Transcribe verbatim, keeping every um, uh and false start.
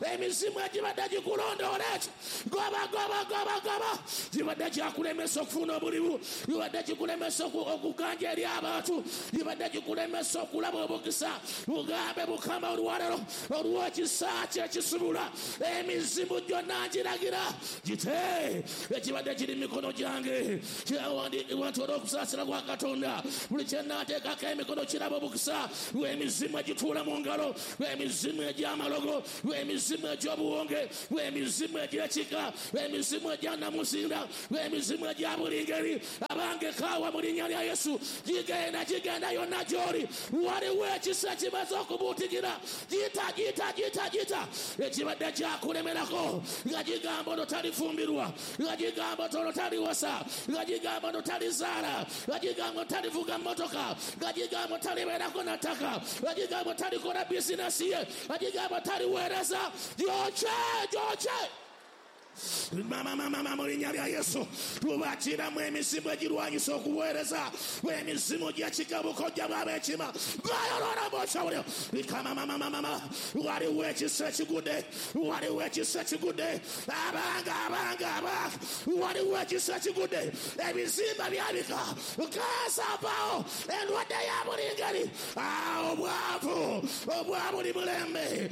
Emizimu egibadde gikulondoola ekyo, goba, goba, goba, goba. Gibadde gyakulemesa okufuna obulimu, gibadde gikulemesa okuganja eri abantu, gibadde gikulemesa okulaba obukisa. Bugambe Mukama olwaleero olw'ekisa kye ekisubula emizimu gyonna ngiragira gite ekibadde kiri mikono gyange. Kyawandiikibwa nti olw'okusaasira kwa Katonda buli kye nnaateekako emikono kiraba obukisa. Lw'emizimu egituula mu ngalo, lw'emizimu egy'amalogo, lw'emizimu egy'obuwonge, lw'emizimu egy'ekika, lw'emizimu egya nnamuzinda, lw'emizimu egya buli ngeri. Abange kaawa mu linnya lya Yesu, gigenda gigenda yonna gy'oli. Waliwo ekisa kimaze okubuutikira, gita gita gita gita ekibadde kyakulemerako, nga gigamba ono talifumbirwa, nga gigamba ono taliwasa, nga gigamba ono talizaala, nga gigamba ono talivuga mmotoka, nga gigamba talibeerako na ttaka, nga gigamba talikola bizinesi ye, nga gigamba taliweereza. Gyokye, gyokye. Mama, mama, mama, mu linnya lya Yesu tubakiramu emizimu egirwanyisa okuweereza, emizimu gy'ekika bukojja bw'ab'ekima bayolora. Mama, mama, mama, waliwo ekisa ekigudde, waliwo ekisa ekigudde. Abanga, abanga, abanga, waliwo ekisa ekigudde. Ebizimba byabika, kansa avaawo, endwadde ya buli ngeri, obwavu obwa buli mulembe.